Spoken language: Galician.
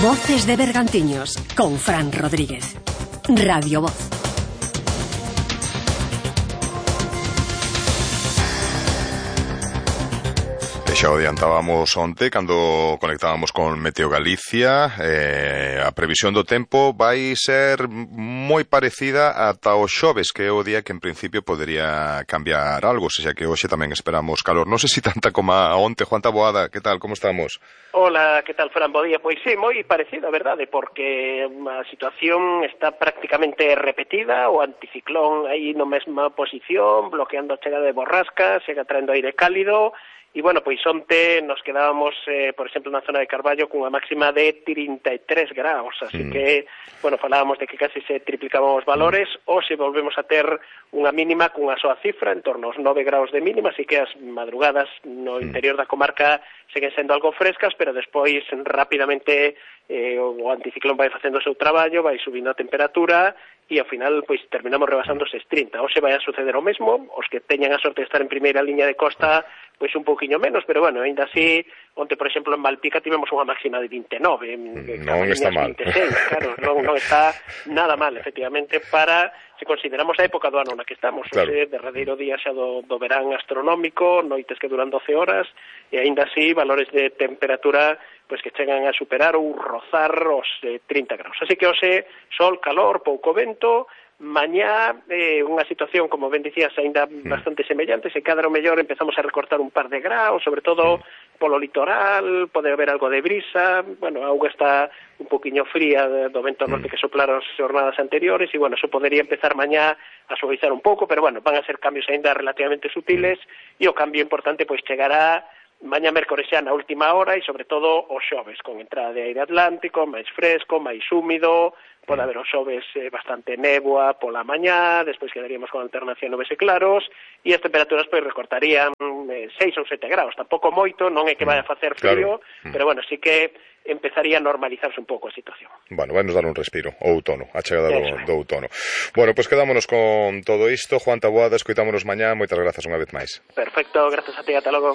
Voces de Bergantiños con Fran Rodríguez. Radio Voz. Xa o adiantábamos onte cando conectábamos con Meteo Galicia. A previsión do tempo vai ser moi parecida ata o xoves, que é o día que en principio podería cambiar algo, xa que hoxe tamén esperamos calor. Non sei se tanta como a onte. Juan Taboada, que tal, como estamos? Hola, que tal, Fran? Bo día. Pois sí, moi parecido, a verdade, porque a situación está prácticamente repetida, o anticiclón aí na mesma posición, bloqueando a chegada de borrascas, chega traendo aire cálido. E, bueno, pois onte nos quedábamos, por exemplo, na zona de Carballo cunha máxima de 33 graus, así que, bueno, falábamos de que casi se triplicaban os valores, hoxe volvemos a ter unha mínima cunha soa cifra, en torno aos 9 graus de mínima, así que as madrugadas no interior da comarca seguen sendo algo frescas, pero despois rapidamente o anticiclón vai facendo o seu traballo, vai subindo a temperatura e ao final pois terminamos rebasando os 30. Hoxe vai a suceder o mesmo, os que teñan a sorte de estar en primeira liña de costa pois un pouquiño menos, pero bueno, ainda así, onte, por exemplo, en Malpica tivemos unha máxima de 29, non está mal. 26, claro, non está nada mal, efectivamente, para, se consideramos a época do ano na que estamos, claro. O derradeiro día xa do verán astronómico, noites que duran 12 horas, e ainda así, valores de temperatura pois que chegan a superar ou rozar os 30 graus. Así que hoxe, sol, calor, pouco vento. Mañá unha situación, como ben dicías, aínda bastante semellante, se cadra o mellor empezamos a recortar un par de graus, sobre todo polo litoral, pode haber algo de brisa, bueno, a auga está un poquinho fría do vento norte que soplaron as jornadas anteriores, e bueno, eso podería empezar mañá a suavizar un pouco, pero bueno, van a ser cambios aínda relativamente sutiles, e o cambio importante pois chegará mañá mércores xa na última hora e sobre todo o xoves, con entrada de aire atlántico, máis fresco, máis húmido, pode haber o xoves bastante néboa pola mañá, despois quedaríamos con alternación nubes e claros, e as temperaturas pois recortarían 6 ou 7 graus, tampouco moito, non é que vai a facer frío, claro. Pero bueno, sí que empezaría a normalizarse un pouco a situación. Bueno, vai nos dar un respiro, o outono, a chegada do outono. Bueno, pois quedámonos con todo isto. Juan Taboada, escoitámonos mañá, moitas grazas unha vez máis. Perfecto, grazas a ti, ata logo.